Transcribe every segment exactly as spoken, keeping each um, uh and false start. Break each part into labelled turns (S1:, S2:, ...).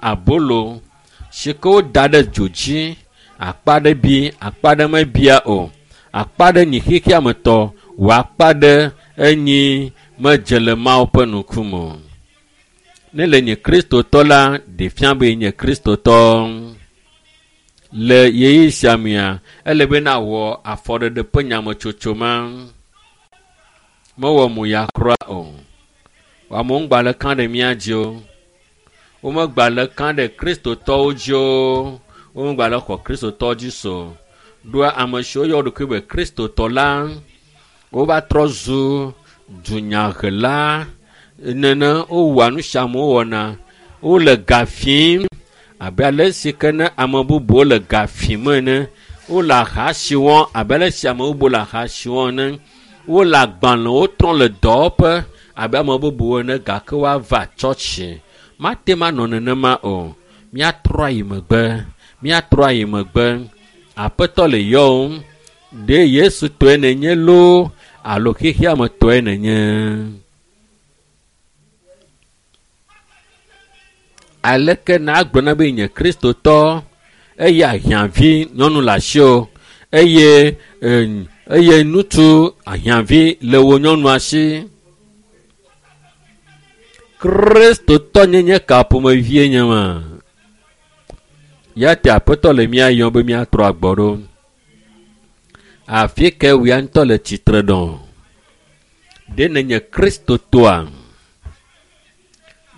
S1: Abolo si ke woda ɖe dzo dzi. Akpa ɖe bi, akpa ɖe mebia o. Akpa ɖe nyi xexeame tɔ, wɔ akpa ɖe enyi medze le Mawu ƒe ŋkume o. Ne le nye kristotɔ la, ɖe fia be nye kristotɔ. Le ɣeyiɣi sia mea, ele be nawɔ afɔɖeɖe ƒe nyametsotso ma. Mewɔ mo ya kura o. Amewo ŋgba le kã ɖe mía dzi o. Womegba le kã ɖe kristotɔwo dzi o. Womegba le xɔ kristotɔ dzi so. Ɖoa ame siwo yɔ wo ɖokui be kristotɔ la, wova trɔ zu dunyahela. Nene wowɔa nu sia amewo wɔna. Wole ga fim abe ale si ke ne ame bubuwo le ga fim ene. Wole aha si wɔm abe ale si ame bubuwo le aha si wɔm ene. Wole agbalẽwo trɔm le dɔwɔƒe abe ame bubuwo ene gake woava tsɔtsi. Mate ŋu anɔ nenema o. Míatrɔ ayi megbe. Míatrɔ ayi megbe. Aƒetɔ le yɔwòm. Ɖe Yesu tɔe nènye loo alo xexeame tɔe nènye? Aleke nagblɔ na be nye kristotɔ eye ahiãvi nyɔnu le asiwò eye eye ŋutsu ahiãvi le wò nyɔnua si? Kristotɔ nyenye ka ƒomevie nye ma? Ya te aƒetɔ le mía yɔm be míatrɔ agbɔ ɖo. Afi ke wòya ŋutɔ le tsitre ɖo. Ɖe nènye kristotɔa?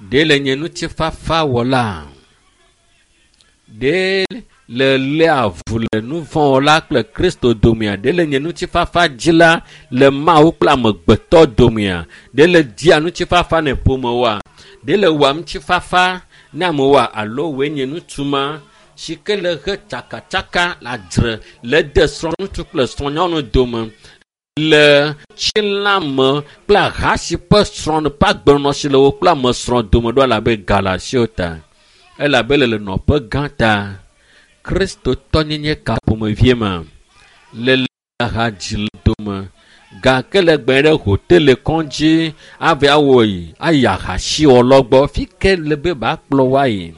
S1: Ɖe le nye ŋutifafawɔla? Ɖe le lé avu le nu vɔ̃ wɔla kple Kristo domea? Ɖe le nye ŋutifafa dzila le Mawu kple amegbetɔ domea? Ɖe le dia ŋutifafa ne ƒomewoa? Ɖe le wɔa ŋutifafa ne amewoa? Alo wòe nye ŋutsu ma si ke le he tsakatsaka le adzre le de srɔ̃ŋutsu kple srɔ̃nyɔnu dome le tsilãme kple aha si ƒe srɔ̃ ƒe agbenɔnɔ si le wo kple ame srɔ̃ dome ɖo elabe ga le asiwò ta. Elabe le le nɔƒe gã ta. Kristotɔnyenye ka ƒomevie ma le aha dzi le dome gake le gbe ɖe hotele kɔdzi ava awɔ yi ayi ahasiwɔlawo gbɔ. Fi ke le be bakplɔ wo ayi.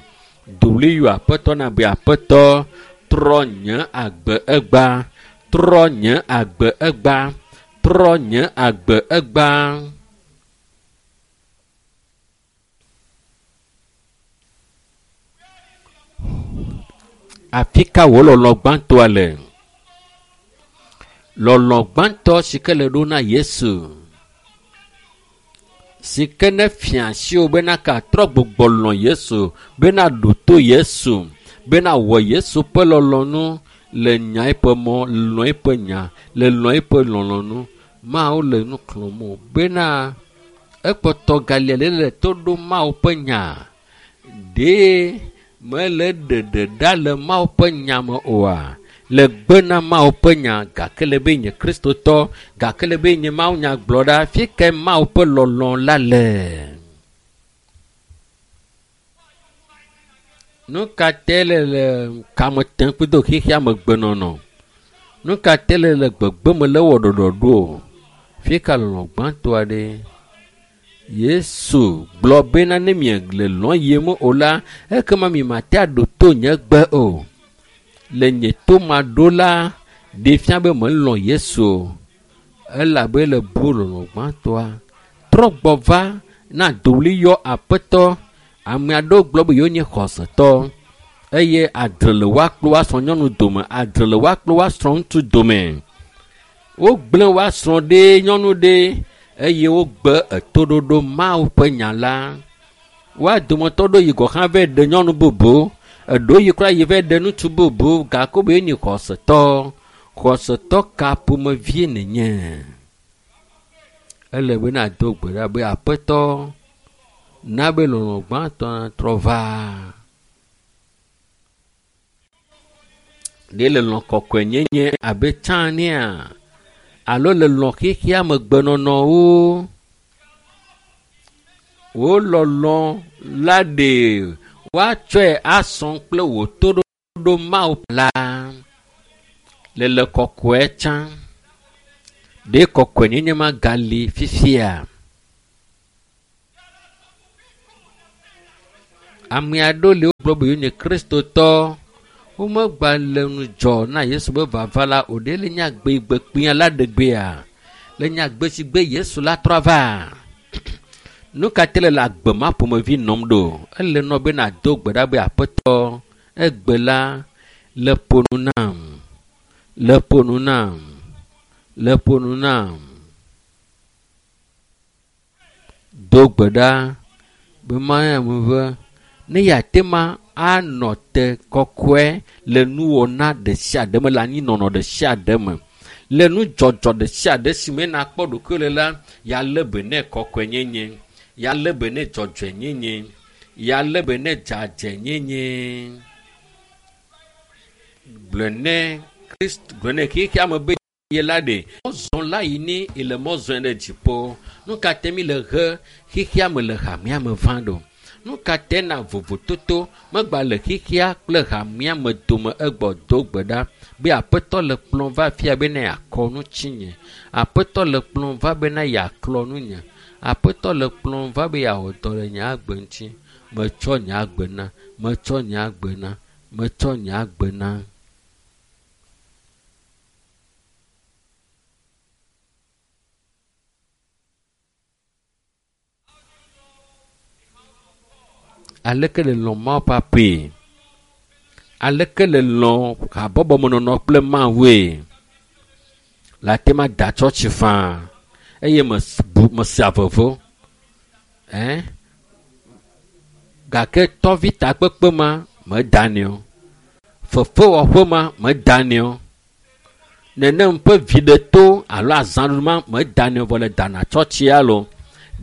S1: Dowli yɔ aƒetɔ na be aƒetɔ trɔ nye agbe egba, trɔ nye agbe egba, trɔ nye agbe egba. Afi ka wò lɔlɔ̃ gbãtɔa le? Lɔlɔ̃ gbãtɔ si ke le ɖo na Yesu, si ke ne fia asiwò bena katrɔ gbugbɔ lɔ̃ Yesu, bena ɖo to Yesu, bena wɔ Yesu ƒe lɔlɔ̃nu le nya eƒe mɔ, lɔ̃ eƒe nya, le lɔ̃ eƒe lɔlɔ̃nu. Mawu le nu xlɔ̃m wò bena ekpɔtɔ galia le le to ɖom Mawu ƒe nya. Ɖe mele ɖeɖe ɖa le Mawu ƒe nya me oa? Le gbe na Mawu ƒe nya gake le be nye kristotɔ, gake le be nye Mawu nya gblɔ ɖa, fi ke Mawu ƒe lɔlɔ̃ la le? Nu ka te le le kame tem kple xexeame gbenɔnɔ? Nu ka te le le gbegbe me le wɔ ɖɔɖɔɖo o? Fi ka lɔlɔ̃ gbãtɔa ɖe? Yesu gblɔ bena ne miele lɔ̃ yiem o la, ekema mimate aɖo to nye gbe o. Le nye to maɖo la, ɖe fia be melɔ̃ Yesu o. Elabe le bu lɔlɔ̃ gbãtɔa. Trɔ gbɔ va na dowli yɔ aƒetɔ. Ame aɖewo gblɔ be yewonye xɔsetɔ eye adre le woa kple woa srɔ̃nyɔnu dome, adre le woa kple woa srɔ̃ŋutsu dome. Wogblẽ woa srɔ̃ ɖe nyɔnu ɖe eye wogbe etoɖoɖo Mawu ƒe nya la. Woa dometɔ ɖewo yi gɔ̃ hã va ɖe nyɔnu bubu, eɖewo yi kura yi va ɖe ŋutsu bubu gake wobe yewonye xɔsetɔ. Xɔsetɔ ka ƒomevie nènye? Ele be nado gbe ɖa be aƒetɔ na be lɔlɔ̃ gbãtɔ natrɔ va. Ɖe le lɔ̃ kɔkɔenyenye abe tsã nea? Alo le lɔ̃ xexeame gbenɔnɔwo? Wò lɔlɔ̃ la ɖe woatsɔe asɔ kple wò toɖoɖo Mawu la. Le le kɔkɔe tsã. Ɖe kɔkɔenyenye ma gali fifia? Ame aɖewo le wogblɔ be yewonye kristotɔ. Womegba le ŋudzɔ na Yesu be vava la o. Ɖe le nye agbegbe kpuia la ɖegbea? Le nye agbe si gbe Yesu la trɔ va. Nu ka te le le agbe ma ƒomevi nɔm ɖo? Ele nɔ be nàdo gbe ɖa be aƒetɔ egbe la le ƒo nu nam, le ƒo nu nam, le ƒo nu nam. Do gbe ɖa be Mawu be ne yeate ma anɔ te kɔkɔe le nuwɔna ɖe sia ɖe me le anyinɔnɔ ɖe sia ɖe me le nudzɔdzɔ ɖe sia ɖe si me nakpɔ ɖokuiwò le la yealé be nɛ kɔkɔenyenye, yealé be nɛ dzɔdzɔenyenye, yealé be nɛ dzadzɛnyenye. Gblɔe nɛ Kristo gblɔe nɛ xexea me be ye la ɖe mɔzɔ la yi ni ele mɔzɔe ɖe dziƒo. Nu ka te mi le he xexea me le hamea me va ɖo? Nu ka te na vovototo megba le xexea kple hamea me dome egbɔ do gbe ɖa be aƒetɔ le kplɔm va fia be ne yeakɔ nu tsinye. Aƒetɔ le kplɔm va be ne yeaklɔ nunye. Aƒetɔ le kplɔm va be yeawɔ dɔ le nye agbe ŋuti. Metsɔ nye agbe na, metsɔ nye agbe na, metsɔ nye agbe na. Aleke le lɔ̃ Mawu ƒe aƒee? Aleke le lɔ̃ habɔbɔmenɔnɔ kple Mawue? Le ate ma da tsɔtsi faa eye mes- mesea vevo. Ɛn? Gake tɔvi takpekpe ma medanɛ o. Fefewɔƒe ma medanɛ o. Nenem ƒe viɖeto alo azãɖuɖu ma medanɛ o vɔ le dana tsɔtsia lo.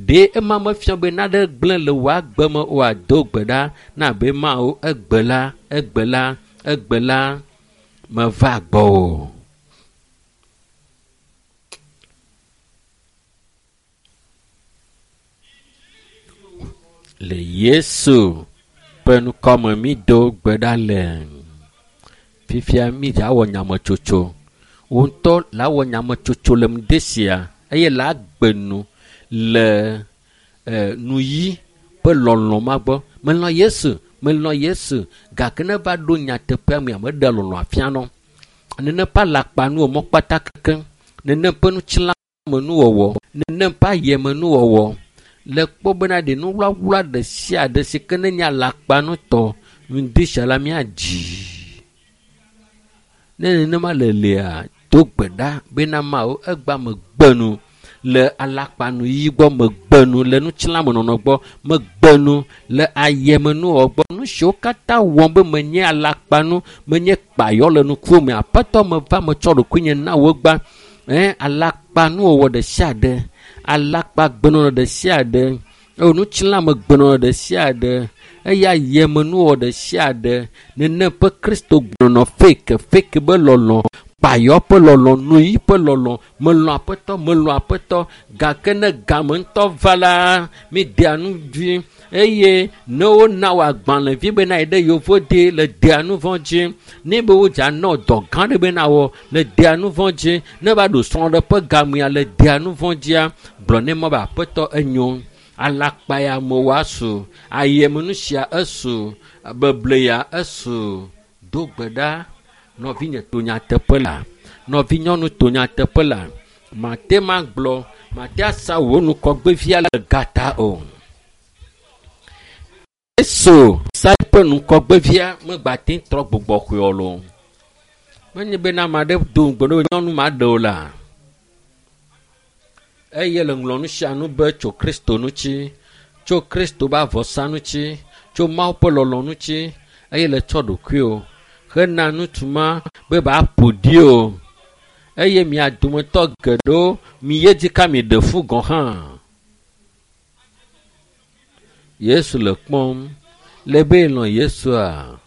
S1: Ɖe ema mefia be naɖe gblẽ le wò agbe me oa do gbe ɖa na be Mawu egbe la, egbe la, egbe la meva gbɔwò. Le Yesu ƒe ŋkɔme mi do gbe ɖa le. Fifia mi dza wɔ nyametsotso. Wò ŋutɔ la wɔ nyametsotso le ŋdi sia eye la gbe nu le eh, nuyi ƒe lɔlɔ̃ ma gbɔ. Melɔ̃ Yesu, melɔ̃ Yesu gake ne va ɖo nyateƒea mea meɖe lɔlɔ̃ afia nɔ. Nenem ƒe alakpanuwo mɔkpata kekeŋ, nenem ƒe ŋutilãmenuwɔwɔ, nenem ƒe ayemenuwɔwɔ le kpɔ bena ɖe nuwlawla ɖe sia ɖe si ke ne nye alakpanutɔ ŋdi sia la míadzi. Ne nenema le lia, do gbe ɖa bena Mawu egba megbe nu le alakpanuyi gbɔ, megbe nu le ŋutilãmenɔnɔ gbɔ, megbe nu le ayemenuwɔwɔ gbɔ. Nu siwo katã wɔm be menye alakpanu, menye kpayɔ le ŋkuwò me. Aƒetɔ meva metsɔ ɖokuinye na wò gbã. Ɛn, alakpanuwɔwɔ ɖe sia ɖe, alakpagbenɔnɔ ɖe sia ɖe, eye ŋutilãmegbenɔnɔ ɖe sia ɖe, eye ayemenuwɔwɔ ɖe sia ɖe, nenem ƒe Kristo gbenɔnɔ fake, fake be lɔlɔ̃, kpayɔ ƒe lɔlɔ̃, nuyi ƒe lɔlɔ̃, melɔ̃ aƒetɔ, melɔ̃ aƒetɔ, gake ne game ŋutɔ va la, mi dea nu dzi eye ne wona wò agbalẽvi bena yi ɖe yovode le dea nu vɔ̃ dzi, ne be wodza nɔ dɔ gã ɖe bena wɔ le dea nu vɔ̃ dzi, ne va ɖo srɔ̃ɖeƒe gamea le dea nu vɔ̃ dzia, gblɔ ne mɔ be aƒetɔ enyo. Alakpa ya mewɔ asu, ayemenu sia esu, beble ya esu. Do gbe ɖa, nɔvinye to nyateƒe la, nɔvinyɔnu to nyateƒe la, mate ma gblɔ, mate asa wò nukɔgbevia le gata o. Yesu sa eƒe nukɔgbevia megba te trɔ gbugbɔ xɔe o loo. Menye bena ame aɖe do ŋugbe ne nyɔnu ma ɖe o la. Eye le ŋlɔ nu sia nu be tso Kristo ŋuti, tso Kristo be avɔsa ŋuti, tso Mawu ƒe lɔlɔ̃ ŋuti, eye le tsɔ ɖokuiwò hena ŋutsu ma be ba ƒo ɖi o. Eye mia dometɔ geɖewo mi ye dzi ka mi ɖe fu gɔ̃ hã. Yesu le kpɔm le be lɔ̃ Yesua.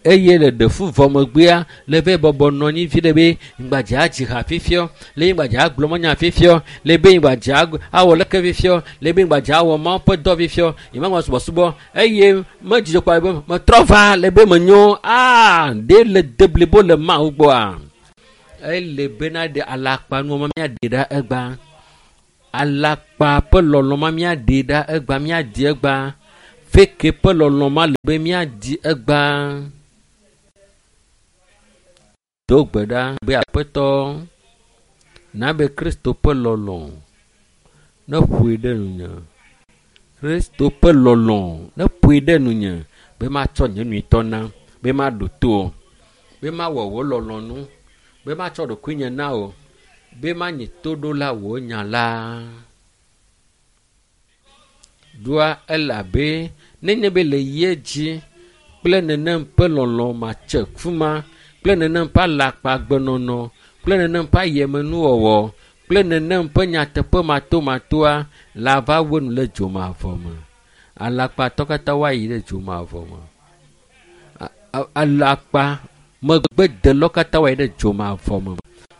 S1: Eye le ɖe fu vɔ megbea le be bɔbɔ nɔ anyi vi ɖe be ŋgbadza dzi ha fifiɔ, le ŋgbadza gblɔ manya fifiɔ, le be ŋgbadza awɔ leke fifiɔ, le be ŋgbadza awɔ Mawu ƒe dɔ fifiɔ, yi ma subɔsubɔ eye medzidzɔ kpa be metrɔ va le be menyo aa ɖe le deblibo le Mawu gbɔa. Ele bena ɖe alakpanuwo ma míaɖe ɖa egba. Alakpa ƒe lɔlɔ̃ ma míaɖe ɖa egba, míadi egba. Feke ƒe lɔlɔ̃ ma le be míadi egbea. Do gbe ɖa be Aƒetɔ na be Kristo ƒe lɔlɔ̃ ne ƒoe ɖe nunye. Kristo ƒe lɔlɔ̃ ne ƒoe ɖe nunye be matsɔ nye nyuitɔ na, be maɖo to wò, be mawɔ wò lɔlɔ̃nu, be matsɔ ɖokuinye na wò, be manyi toɖola wò nya la. Ɖoa elabe nenye be le ye dzi kple nenem ƒe lɔlɔ̃ matse ku ma kple nenem ƒe alakpagbenɔnɔ kple nenem ƒe ayemenuwɔwɔ kple nenem ƒe nyateƒe matomatoa la va wu nu le dzomavɔ me. Alakpatɔ katã woayi ɖe dzomavɔ me. Alakpa megbedelɔ katã woayi ɖe dzomavɔ me.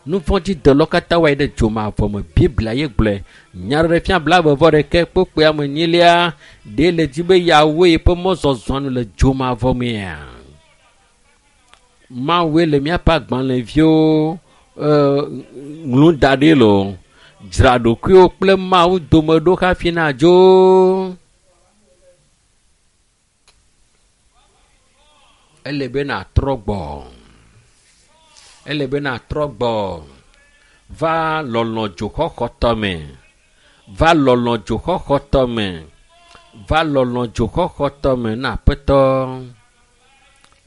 S1: Nuvɔ̃dzidelɔ katã woayi ɖe dzomavɔ me. Biblia ye gblɔe. Nyaɖeɖefia blaeve vɔ ɖeke kpokpoe ame enyilia ɖe le dzi be yeawoe yeƒe mɔzɔzɔ nu le dzomavɔ mea. Mawue le míaƒe agbalẽviwo ŋlu da ɖi loo. Dzra ɖokuiwo kple Mawu dome ɖo hafi nadzo. Ele be nàtrɔ gbɔ. Ele be nàtrɔ gbɔ. Va lɔlɔ̃ dzoxɔxɔtɔ me. Va lɔlɔ̃ dzoxɔxɔtɔ me. Va lɔlɔ̃ dzoxɔxɔtɔ me na Aƒetɔ.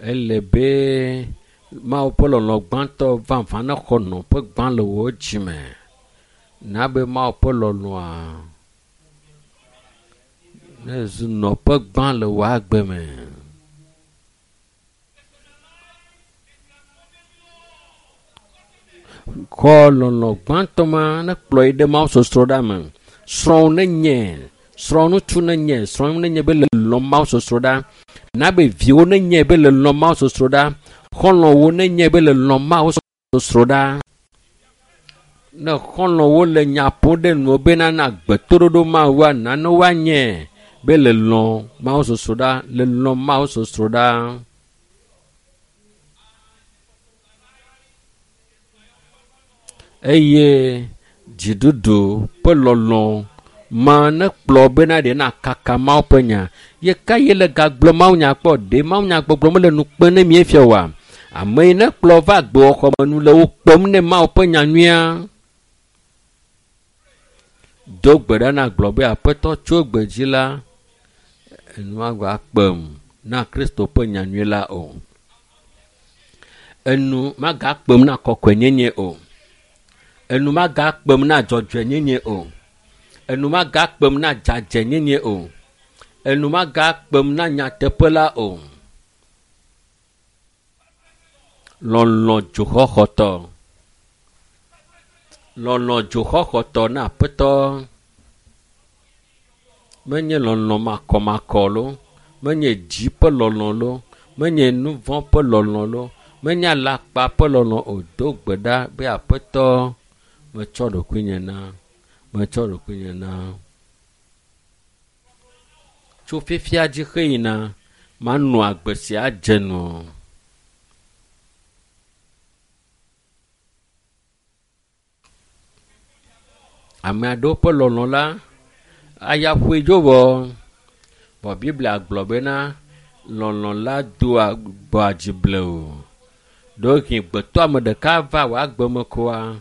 S1: Ele be Mawu ƒe lɔlɔ̃ gbãtɔ vavã ne xɔ nɔƒe gbã le wò dzime. Na be Mawu ƒe lɔlɔ̃a ne zu nɔƒe gbã le wò agbe me. Xɔ lɔlɔ̃ gbãtɔ ma ne kplɔ yi ɖe Mawu sɔsrɔ̃ ɖa me. Srɔ̃wò nenye, srɔ̃ ŋutsu nenye, srɔ̃ nenye be le lɔ̃ Mawu sɔsrɔ̃ ɖa. Na be viwo nenye be le lɔ̃ Mawu sɔsrɔ̃ ɖa. Xɔlɔ̃wo nenye be le lɔ̃ Mawu sɔsrɔ̃ ɖa. Ne xɔlɔ̃wo le nya ƒom ɖe nuwo bena na gbetoɖoɖo Mawua, nane woanye be le lɔ̃ Mawu sɔsrɔ̃ ɖa, le lɔ̃ Mawu sɔsrɔ̃ ɖa. Eye dziɖuɖu ƒe lɔlɔ̃ ma ne kplɔ bena ɖe na kaka Mawu ƒe nya. Ye ka ye le gagblɔ Mawu nya kpɔ? Ɖe Mawu nya gbɔgblɔ mele nu kpem ne míefia oa? Ame yi ne kplɔ va agbewɔxɔ me nu le wo kpem ne Mawu ƒe nya nyuia. Do gbe ɖa na gblɔ be Aƒetɔ tso gbe dzi la, enua gba kpem na Kristo ƒe nya nyui la o. Enu magakpem na kɔkɔenyenye o. Enu magakpem na dzɔdzɔenyenye o. Enu magakpem na dzadzɛnyenye o. Enu magakpem na nyateƒe la o. Lɔlɔ̃ dzoxɔxɔtɔ. Lɔlɔ̃ dzoxɔxɔtɔ na Aƒetɔ. Menye lɔlɔ̃ makɔmakɔ lo, menye dzi ƒe lɔlɔ̃ lo, menye nuvɔ̃ ƒe lɔlɔ̃ lo, menye alakpa ƒe lɔlɔ̃ o. Do gbe ɖa be Aƒetɔ metsɔ ɖokuinye na, metsɔ ɖokuinye na. Tso fifia dzi xeyina, manɔ agbe sia dze nu. Ame aɖewo ƒe lɔlɔ̃ la, aya ƒoe dzo vɔ. Vɔ Biblia gblɔ bena lɔlɔ̃ la doa gbɔa dzi blewu. Ɖewohĩ gbetɔ ame ɖeka va wò agbe me koa,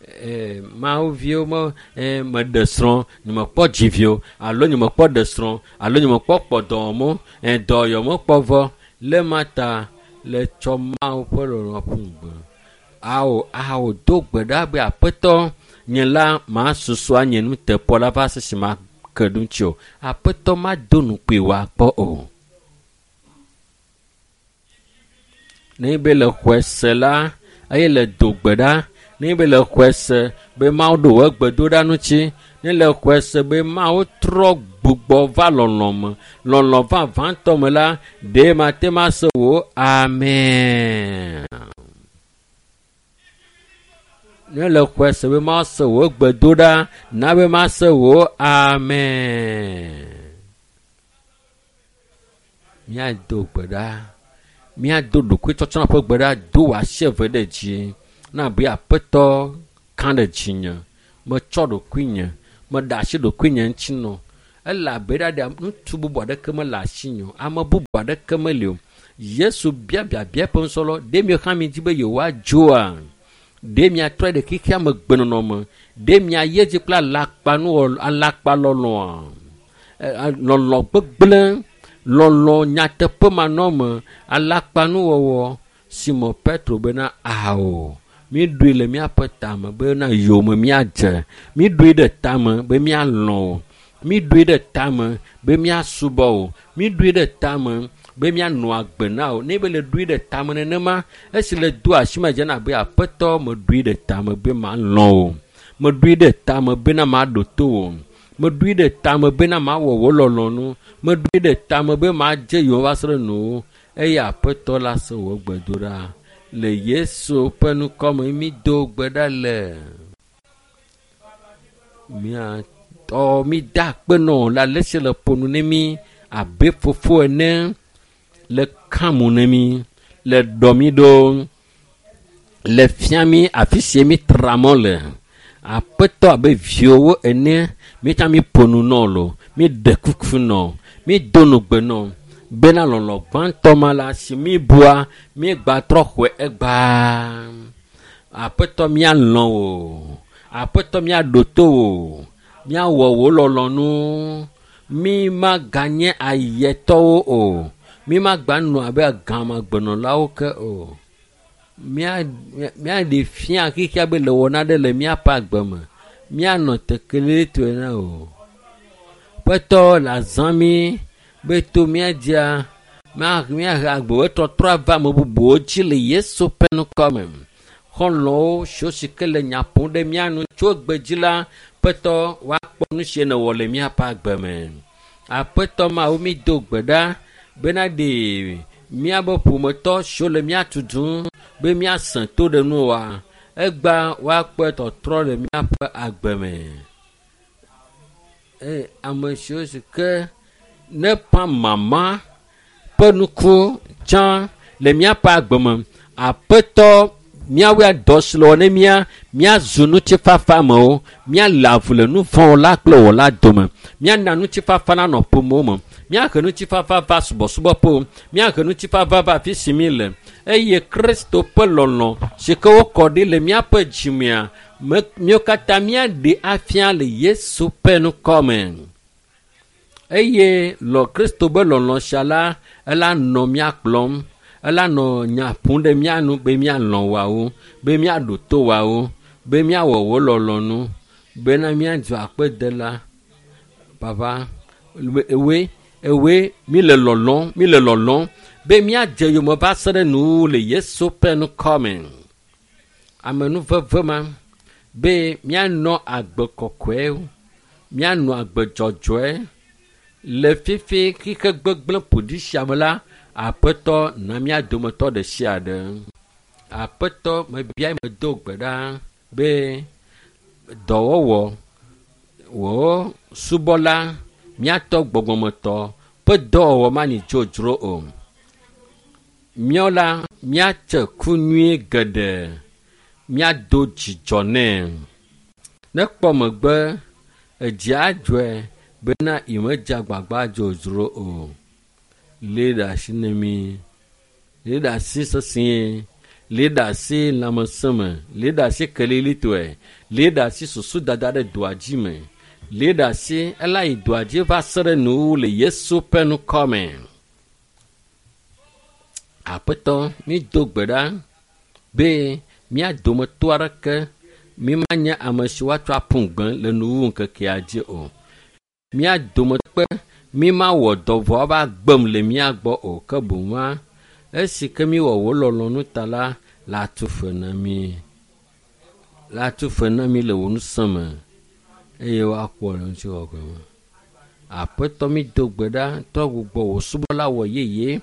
S1: ee, Mawu viwo me, ee, meɖe srɔ̃, nyemekpɔ dzi vi o, alo nyemekpɔ ɖe srɔ̃, alo nyemekpɔ kpɔ dɔwɔmɔ, ee, dɔyɔ mekpɔ vɔ. Le ma ta le tsɔ Mawu ƒe lɔlɔ̃ ƒu gbe. Ao, ao, do gbe ɖa be Aƒetɔ, nye la masusu anye nuteƒewɔla la va se si ma ke ɖo ŋuti o. Aƒetɔ mado nukpui wòakpɔ o. Ne be le xɔe se la, eye le do gbe ɖa, ne be le xɔe se be Mawu ɖo wò gbedoɖa ŋuti, ne le xɔe se be Mawu trɔ gbugbɔ va lɔlɔ̃ me, lɔlɔ̃ vavãtɔ me la, ɖe mate ma se wò amen. Ne le xɔe se be Mawu se wò gbedoɖa, na be ma se wò amen. Míado gbe ɖa. Míado ɖokuitsɔtsɔna ƒe gbe ɖa, do wò asi eve ɖe dzi. Na be Aƒetɔ ka ɖe dzinye. Metsɔ ɖokuinye, meɖe asi ɖokuinye ŋuti nɔ. Elabe ɖa ɖe ŋutsu bubu aɖeke mele asinye o, ame bubu aɖeke meli o. Yesu bia biabia eƒe nusrɔ̃lawo, ɖe miwo hã miedi be yewoadzoa? Ɖe miatrɔ ɖe xexea me gbenɔnɔ me? Ɖe miayi edzi kple alakpanuwɔ alakpalɔlɔ̃a? Lɔlɔ̃ gbegblẽ, lɔlɔ̃ nyateƒe manɔme, alakpanuwɔwɔ. Simon Petro bena ao, miɖoe le míaƒe tame bena yome míadze, miɖoe ɖe tame be míalɔ̃ o, miɖoe ɖe tame be míasubɔ o, miɖoe ɖe tame be míanɔ agbe na o. Ne be le ɖoe ɖe tame nenema, esi le do asi me dzena abe aƒetɔ meɖoe ɖe tame be malɔ̃ o, meɖoe ɖe tame bena maɖo to o, meɖoe ɖe tame bena mawɔ wò lɔlɔ̃nu, meɖoe ɖe tame be madze yome va se ɖe nuwò. Eye aƒetɔ la se wò gbedoɖa. Le Yesu ƒe ŋkɔme mi do gbe ɖa le. Miatɔ mi da akpe nɔ le ale si le ƒo nu ne mi abe fofo ene, le kamu ne mi, le ɖɔ mi ɖo, le fia mi afi si mi tra mɔ le. Aƒetɔ abe viwo ene, mi tsã mi ƒo nu nɔ lo, mi ɖe kuku nɔ, mi do nugbe nɔ. Bena lɔlɔ̃ gbãtɔ ma la si mi bua, mi gbatrɔ xɔe egbaa. Aƒetɔ míalɔ̃ wò, aƒetɔ míaɖo to wò, míawɔ wò lɔlɔ̃nu. Mi maganye ayetɔwo o, mi magbanɔ abe gamagbenɔlawo ke o. Mía míaɖe fia xexea be le wɔna ɖe le míaƒe agbe me. Míanɔ tekelitɔe na o. Aƒetɔ le azã mi be to míadzia míahe agbewo tɔtrɔ ava ame bubuwo dzi le Yesu ƒe ŋkɔme. Xɔlɔ̃wo siwo si ke le nya ƒom ɖe mía nu tso egbe dzi la, Aƒetɔ woakpɔ nu si nèwɔ le míaƒe agbe me. Aƒetɔ Mawu mi do gbe ɖa bena ɖe míaƒe ƒometɔ siwo le mía tutum be míasẽ to ɖe nuwoa, egbea woakpɔe tɔtrɔ le míaƒe agbe me. Eye ame siwo si ke ne ƒã mama ƒe nuku tsã le míaƒe agbe me, Aƒetɔ míawoe dɔ si le wɔ ne mía míazu ŋutifafamewo, míale avu le nu vɔ̃ la kple wɔla dome, míana ŋutifafa nanɔ ƒomewo me, míahe ŋutifafa va subɔsubɔƒewo, míahe ŋutifafa va afi si mi le. Eye Kristo ƒe lɔlɔ̃ si ke wokɔ ɖi le míaƒe dzimea, míawo katã míaɖe afia le Yesu ƒe ŋkɔme. Eye lɔ Kristo be lɔlɔ̃ sia la, ela nɔ mía kplɔm, ela nɔ nya ƒom ɖe mía nu be míalɔ̃ woawo, be míaɖo to woawo, be míawɔ wò lɔlɔ̃nu, bena míadzo akpedela. Papa, ewoe, ewoe, mi le lɔlɔ̃m, mi le lɔlɔ̃m be míadze yome va se ɖe nuwuwu le Yesu ƒe ŋkɔme. Amenuveve ma be míanɔ agbe kɔkɔe, míanɔ agbe dzɔdzɔe. Le fifi xixe gbegblẽ ƒoɖi sia me la, Aƒetɔ na mía dometɔ ɖe sia ɖe. Aƒetɔ mebia medo gbe ɖa be dɔwɔwɔ wò subɔla míatɔ gbɔgbɔmetɔ ƒe dɔwɔwɔ manyi dzodzro o. Míawo la míatse ku nyui geɖe, míado dzidzɔ nɛ. Ne kpɔ megbe edzi adzɔe bena yemedze agbagba dzodzro o. Lé ɖe asi ne mi, lé ɖe asi sesĩe, lé ɖe asi lãmesẽ me, lé ɖe asi kelilitɔe, lé ɖe asi susu dada ɖe doa dzi me, lé ɖe asi ela yi doa dzi va se ɖe nuwuwu le Yesu ƒe ŋkɔme. Aƒetɔ mi do gbe ɖa be mía dometɔ aɖeke mi manye ame si woatsɔ aƒu gbe le nuwuwu ŋkekea dzi o. Mía dometɔ mi mawɔ dɔ vɔ va gbem le mía gbɔ o, ke boŋ esi ke mi wɔ wò lɔlɔ̃nu ta la, la tu fe na mi. La tu fe na mi le wò ŋusẽ me eye woakpɔ le ŋutikɔkɔe me. Aƒetɔ mi do gbe ɖa trɔ gbugbɔ wò subɔla wɔ yeye,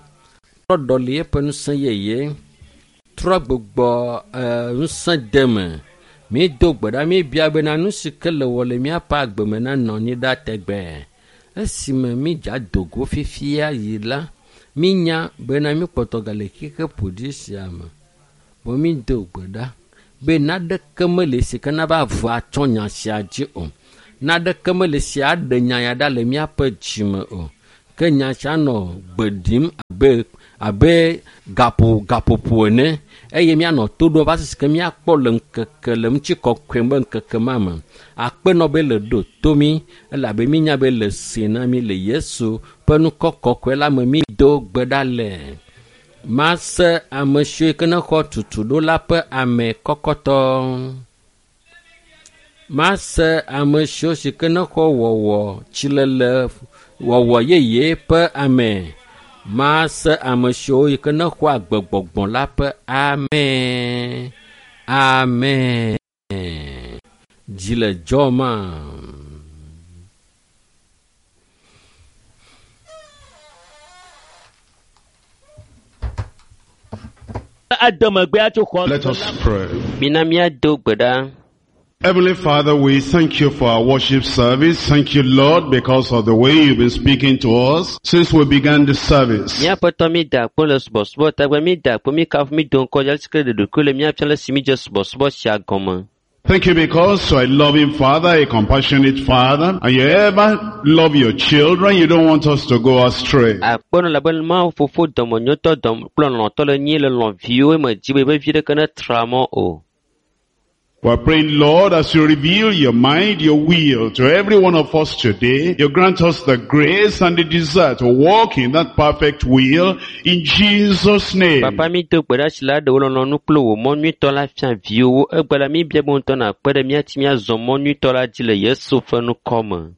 S1: trɔ ɖɔli eƒe ŋusẽ yeye, trɔ gbugbɔ ŋusẽ de me. Mi do gbe ɖa mi bia bena nu si ke le wɔ le míaƒe agbe me nanɔ anyi ɖa tegbee. Esime mi dza do go fifia yi la, minya bena míkpɔtɔ gale xixe ƒoɖi sia me. Vɔ mi do gbe ɖa be naɖeke meli si ke nava ʋu atsɔ nya sia dzi o. Naneke mele si aɖe nya ya ɖa le míaƒe dzime o. Ke nya sia nɔ gbe ɖim abe abe gaƒo gaƒoƒo ene eye míanɔ to ɖom va si ke míakpɔ le ŋkeke le ŋutikɔkɔe be ŋkeke ma me. Akpenɔ be le ɖo to mí elabe mínya be le se na mí le Yesu ƒe ŋkɔ kɔkɔe la me mído gbe ɖa le. Mase ame siwo ke ne xɔ tutuɖo la ƒe ame kɔkɔtɔ. Mase ame siwo si ke ne xɔ wɔwɔ tsilele wɔwɔ yeye ƒe ame. Mase ame siwo yi ke ne xɔ agbegbɔgbɔ la ƒe ame. Amen. Dzi le dzɔma.
S2: Ademegbea tso xɔ
S3: Let us pray.
S4: Mina míado gbe ɖa.
S3: Heavenly Father, we thank you for our worship service. Thank you, Lord, because of the way you've been speaking to us since we began the service.
S4: Míaƒetɔ mi da akpɔ le subɔsubɔ tagbe mi da akpɔ mi kafu mi do ŋkɔ dzi ale ɖe ɖokui le míafia le si mi dze subɔsubɔ sia gɔme.
S3: Thank you because you are a loving Father, a compassionate Father, and you ever love your children. You don't want us to go astray.
S4: Akpɔnɔ labe Mawu fofo dɔmenyotɔ dɔm kple lɔlɔ̃tɔ le nyi le lɔ̃ viwo me dzi be be vi ɖeke ne tra mɔ o.
S3: We're praying, Lord, as you reveal your mind, your will to every one of us today, you grant us the grace and the desire to walk in that perfect will in Jesus' name.
S4: Papa mi do gbe ɖa si la ɖe wò lɔlɔ̃nu kple wò mɔ nyuitɔ la fia viwòwo. Egbe la mi bia be ŋutɔ nàkpe ɖe mía ŋuti míazɔ mɔ nyuitɔ la dzi le Yesu ƒe ŋkɔ me.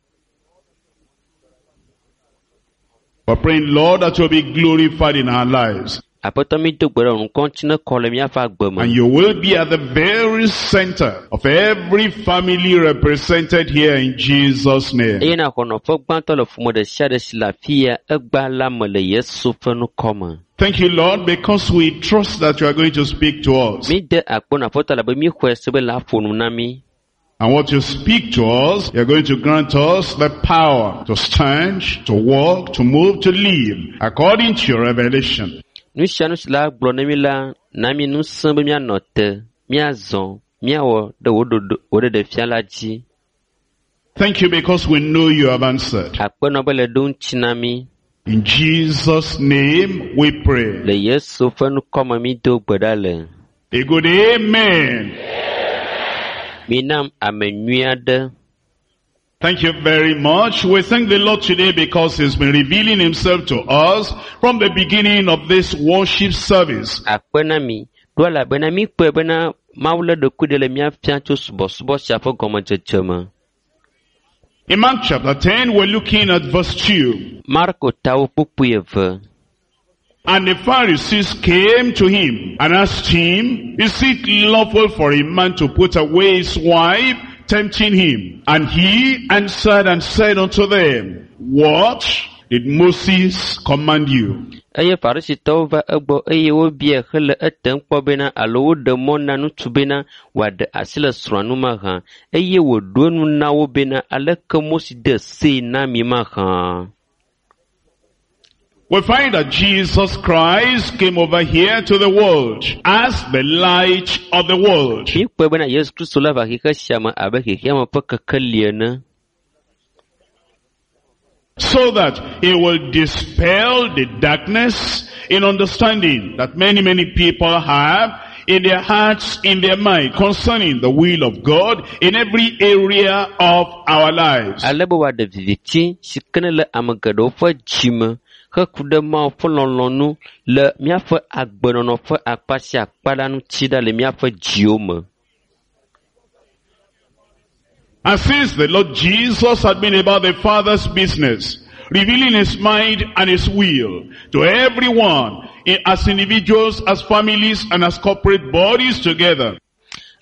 S3: We're praying, Lord, that you'll be glorified in our lives.
S4: Aƒetɔ mi do gbe ɖe wò ŋkɔ ŋuti ne kɔ le míaƒe agbe me.
S3: And you will be at the very center of every family represented here in Jesus' name.
S4: Eye nàxɔ nɔƒe gbãtɔ le ƒome ɖe sia ɖe si le afi ya egbea la me le Yesu ƒe ŋkɔ me.
S3: Thank you, Lord, because we trust that you are going to speak to us.
S4: Mi de akpɔ na aƒetɔ labe mi xɔe se be la ƒo nu na mi.
S3: And what you speak to us, you're going to grant us the power to stand, to walk, to move, to live, according to your revelation.
S4: Nu sia nu si la gblɔ na mi la, na mi ŋusẽ be míanɔ te, míazɔ, míawɔ ɖe wò ɖoɖo wò ɖeɖefia la dzi.
S3: Thank you because we know you have answered.
S4: Akpenɔ be le ɖo ŋuti na mi.
S3: In Jesus' name we pray.
S4: Le Yesu ƒe ŋkɔ me mi do gbe ɖa le.
S3: A good amen.
S4: Minam ame nyui aɖe.
S3: Thank you very much. We thank the Lord today because He's been revealing Himself to us from the beginning of this worship service.
S4: Akpe na mi. Ɖo elabena mi kpɔe bena Mawu le ɖokui ɖe le mía fia tso subɔsubɔ sia ƒe gɔmedzedze me.
S3: In Mark chapter ten, we're looking at verse two.
S4: Marko tawo kpukpui eve.
S3: And the Pharisees came to him and asked him, Is it lawful for a man to put away his wife? Tempting him. And he answered and said unto them, What did Moses command you?
S4: Eye Farisitɔwo va egbɔ eye wobiae hele etem kpɔ bena alo woɖe mɔ na ŋutsu bena wòaɖe asi le srɔ̃a ŋu mahã. Eye wòɖo eŋu na wo bena aleke Mose de see na mi mahã.
S3: We find that Jesus Christ came over here to the world as the light of the world.
S4: Míekpɔe bena Yesu Kristo la va xexe sia me abe xexea me ƒe kekeli ene.
S3: So that he will dispel the darkness in understanding that many, many people have in their hearts, in their mind, concerning the will of God in every area of our lives.
S4: Ale be wòaɖe viviti si ke ne le ame geɖewo ƒe dzime heku ɖe Mawu ƒe lɔlɔ̃nu le míaƒe agbenɔnɔ ƒe akpa sia akpa la ŋuti ɖa le míaƒe dziwo me.
S3: And since the Lord Jesus had been about the Father's business, revealing his mind and his will to everyone, as individuals, as families, and as corporate bodies together.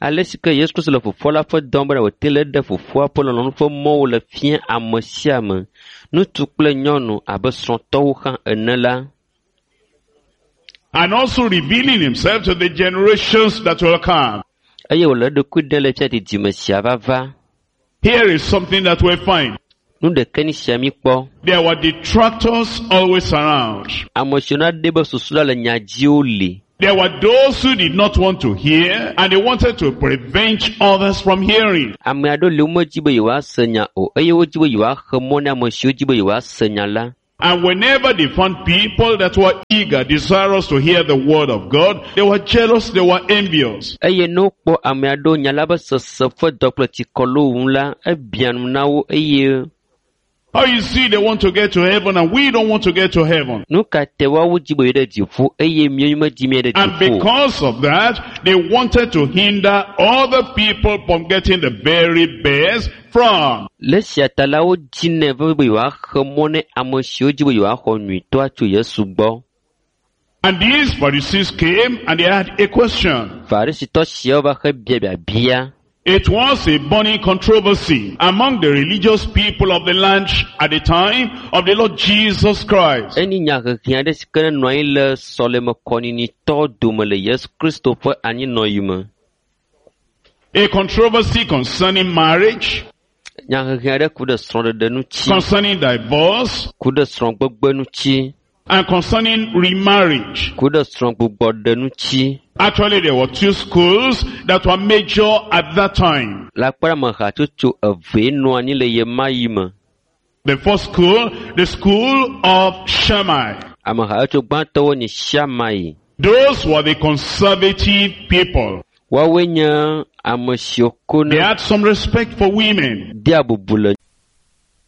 S4: Ale si ke Yesu Kristo le fofoa la ƒe dɔm bena wòte le ɖe fofoa ƒe lɔlɔ̃nu ƒe mɔwo le fia ame sia ame, ŋutsu kple nyɔnu abe srɔ̃tɔwo hã ene la.
S3: And also revealing himself to the generations that will come.
S4: Eye wòle eɖokui ɖem le fia didime sia vava.
S3: Here is something that we find.
S4: Nu ɖeke ni sia mi kpɔ.
S3: There were detractors always around.
S4: Ame siwo na ɖe be susu la le nya dziwo li.
S3: There were those who did not want to hear and they wanted to prevent others from hearing.
S4: Ame aɖewo li womedzi be yewoase nya o eye wodzi be yewoaxe mɔ na ame siwo dzi be yewoase nya la.
S3: And whenever they found people that were eager, desirous to hear the word of God, they were jealous, they were envious.
S4: Eye ne wokpɔ ame aɖewo nya la be sese ƒe dɔ kple tsikɔ le wo ŋu la, ebia nu na wo eye
S3: Oh, you see, they want to get to heaven and we don't want to get to heaven.
S4: nu ka te woawo dzi be yewo ɖe dziƒo eye míawo medzi mía ɖe
S3: And
S4: dziƒo o.
S3: because of that, they wanted to hinder other people from getting the very best from
S4: Le esia ta la wodzinɛ vevie be yewoaxe mɔ ne ame siwo dzi be yewoaxɔ nyuitɔa tso Yesu gbɔ.
S3: And these Pharisees came and they had a question.
S4: Farisitɔ siawo va xe bia biabia.
S3: It was a burning controversy among the religious people of the land at the time of the Lord Jesus Christ.
S4: Enyi nyahehe aɖe si ke nenɔ anyi le sɔleme kɔnyinyiitɔwo dome le Yesu Kristo ƒe anyinɔɣi me.
S3: A controversy concerning marriage,
S4: Nyahehe aɖe ku ɖe srɔ̃ɖeɖe ŋuti,
S3: concerning divorce,
S4: ku ɖe srɔ̃gbegbe ŋuti,
S3: and concerning remarriage.
S4: ku ɖe srɔ̃gbugbɔɖe ŋuti.
S3: Actually, there were two schools that were major at that time.
S4: Le akpa ɖe ame hatsotso evee nɔ anyi le ɣe ma ɣi me.
S3: The first school, the school of Shammai.
S4: Ame hatsotso gbãtɔwo nye Shammai.
S3: Those were the conservative people.
S4: Woawoe nye ame siwo ko
S3: They
S4: ne
S3: had some respect for women.
S4: dea bubu le